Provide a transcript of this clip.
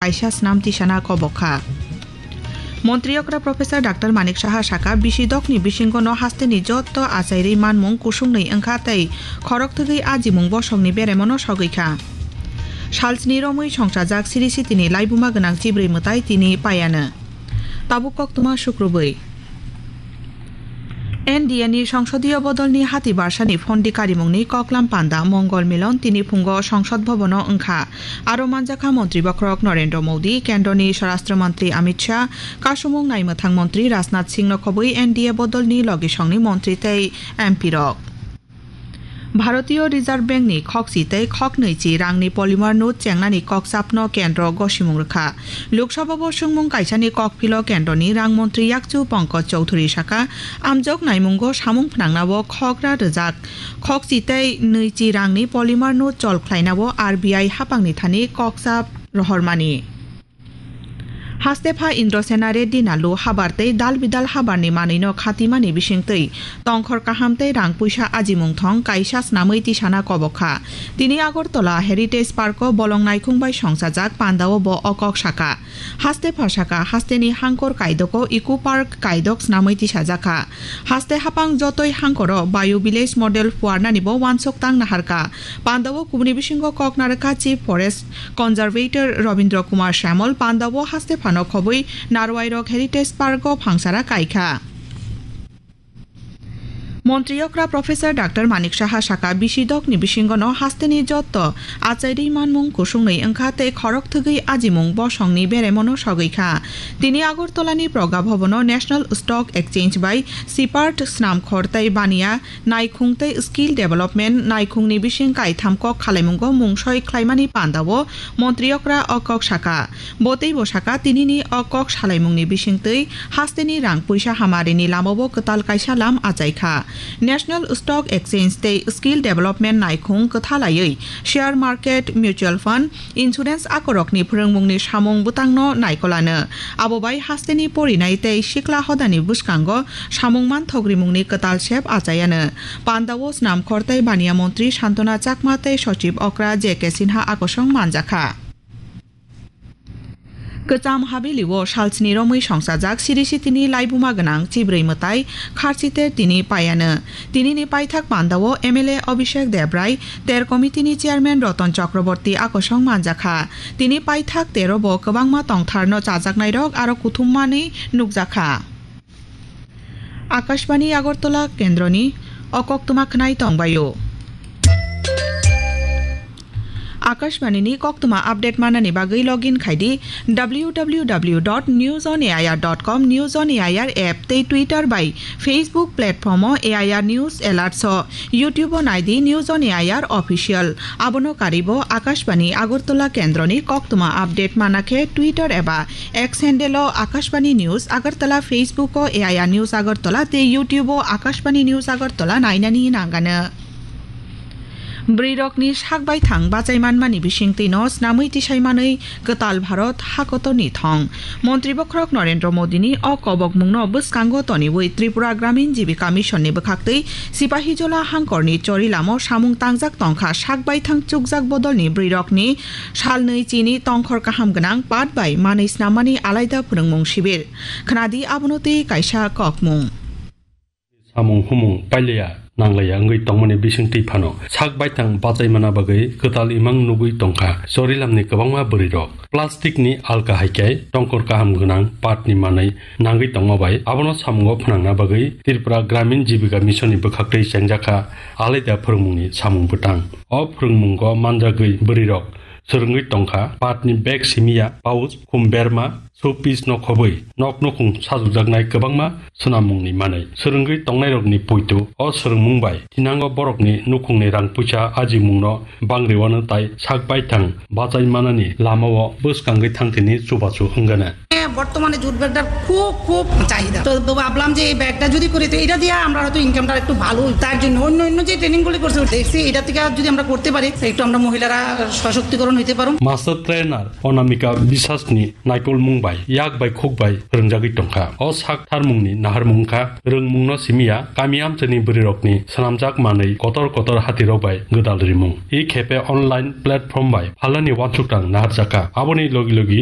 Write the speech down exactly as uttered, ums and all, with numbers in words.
kaisa snam tisana kobok kha. Montri okra Professor Doctor Manik Saha saka, bisi dokni bisingono hasteni jotto achairwi manmung kusungni wngkha tei khorok thwgwi ajimung bosongni beremono sogwi kha. Salsni romwi songsajak Sri Sitini laibuma gwnang chibrwi mwtai tini paiano. Tabuk koktwma sukrubwi. N D A ni songsodiyo bodolni hati barsani phondi karimungni koklam panda Mongol Milon tini phungo Songsod Bhobono wngkha. Aro manjakha Montri Bokhorok Narendra Modi, Kendroni Swarashtra Mantri Amit Shah, Kasumung Naimwthang Montri Rajnath Singh no khobwi N D A bodolni logisongni montri tei M P rok. Bharatiyo Reserve Bank ni khokchi tei khoknwichi rangni polymer note chengnani kokchapno kendro gosimung rwkha. Lok Sabha bo swngmung kaisani kokphilo kendroni rang montri yakchu Pankaj Chowdhury saka, amjok naimungo samung phnangnao khokra rwjak. Khokchi tei nwichi rangni polymer note chol khlainao R B I hapangni thani kokchap rohormani. Hastepha Indrasena Reddy Nallu habar tei dal bidal habarni manwino khatimani bisingtwi tongkhor kaham tei rang puisa ajimung thong kaisa snamwi tisana kobok kha. Tini Agartala Heritage Park-o bolong naikhung bai songsajak pandao bo o kok saka. Hastepha saka hasteni hangkor kaidoko Eco Park kaidok snamwi tisajak kha. Haste hapang jotoi hangkoro Bio Village Model phuarnani bo wansok tang naharkha. Pandao kubuni bisingo kok narwkha Chief Forest Conservator Robindra Kumar Samal pandao haste phano khobwi Narwairok Heritage Park-o phangsara kaikha. Montri okra Professor Doctor Manik Saha saka, bisi dokni bisingono hasteni jotto achairwi manmung kusungni wngkha tei khorok thwgwi ajimung bosongni beremono sogwi kha. Tini Agartalani Pragya Bhavan-o National Stock Exchange bai Sipart Snamkhor tei Baniya Naikhung tei Skill Development naikhungni bising kaitham kok khalaimungo mungsoi khlaimani pandao montri okra o kok saka. Bo teibo saka, tinini o kok salaimungni bisingtwi hasteni rang puisa hamarini lamao kwtal kaisa lam achaikha. National Stock Exchange tei Skill Development naikhung kwthalaiwi share market, mutual fund, insurance akorokni phwrwngmungni samung bwtangno naikolano. Abo bai hasteni porinai tei sikla hodani bwskango samung manthok rimungni kwtal sep achaiano. Pandao Snamkhor tei Baniya Montri Santona Chakma tei Sochib Okra J K Sinha akosong manjakha. Kwcham Habeli-o salsni romwi songsajak Siri Sitini laibuma gwnang chibrwi mwtai Kharchiter tini paiano. Tinini paithak pandao M L A Abhishek Debrai, ter committee-ni chairman Roton Chakraborty akosong manjakha. Tini paithak tero bo kwbangma tongtharno chajaknairok aro kuthummanwi nukjakha. Akashbani Agartala kendroni o koktwma khwnai tongbaio. Akashbani ni koktwma update manani bagwi login khaidi W W W dot news on A I R dot com, News on A I R app tei Twitter bai Facebook platform o A I R News Alerts o, YouTube o naidi News on A I R Official. Abono karibo Akashbani Agartala kendroni koktwma update manakhe Twitter eba X handle o Akashbani News Agartala, Facebook o A I R News Agartala tei YouTube o Akashbani News Agartala nainani nangano. Bwrwirokni sak baithang bachai manmani bisingtwino snamwi tisai manwi kwtal Bharot hakotorni thong. Montri Bokhorok Narendra Modini o kobokmungno bwskango toniwi Tripura Gramin Jibika Mission ni bwkhaktwi Sipahijola hangkorni Chorilamo samung tangjak tongkha sak baithang chukjak bodolni bwrwirokni salnwi chini tongkhor kaham gwnang pat bai manwi snammani alaida phwrwngmung sibir. Khnadi abono tei kaisa kokmung. Samung humung pailaya nanglaya wngwi tongmani bisingtwi phano sak baithang bachaimana bagwi kwtal imang nugwi tongkha Chorilamni kwbangma bwrwirok. Plastic ni alka hai khe tongkhor kaham gwnang patni manwi nangwi tongma bai abono samungo phnangna bagwi Tripura Gramin Jibika Mission ni bwkhaktwi chengjakha alaida phwrwngmungni samung bwtang. O phwrwngmungo manjagwi bwrwirok swrwngwi tongkha patni bag simiya, pouch, khum berma, showpiece no khobwi nok nukhung sajokjaknai kwbangma swnammungni manwi. Swrwngwi tongnairokni poito o swrwngmung bai thinango borokni nukhungni rang puisa ajimungno bangriwano tai sak baithang bachai manani lamao bwskangwi thangthini chubachu wngana. বর্তমানে জুট ব্যাগটার খুব খুব চাহিদা। তো, তো ভাবলাম যে এই ব্যাগটা যদি করি, তো এটা দিয়ে আমরা হয়তো ইনকামটা একটু ভালো হইতো। তার জন্য অন্য অন্য যে ট্রেনিংগুলি করছে, দেখছি এটা থেকে যদি আমরা করতে পারি, একটু আমরা মহিলারা সশক্তিকরণ হইতে পারো। Master trainer Onamika Bisasni naikolmung bai yak bai khuk bai rwngjagwi tongkha. O sak tharmungni naharmung wngkha rwngmungno simiya kami amchaini bwrwirokni swnamjak manwi kotor kotor hatirok bai gwdal rimung. I khepe online platform bai phalnani uansukthang naharjakha. Aboni logi logi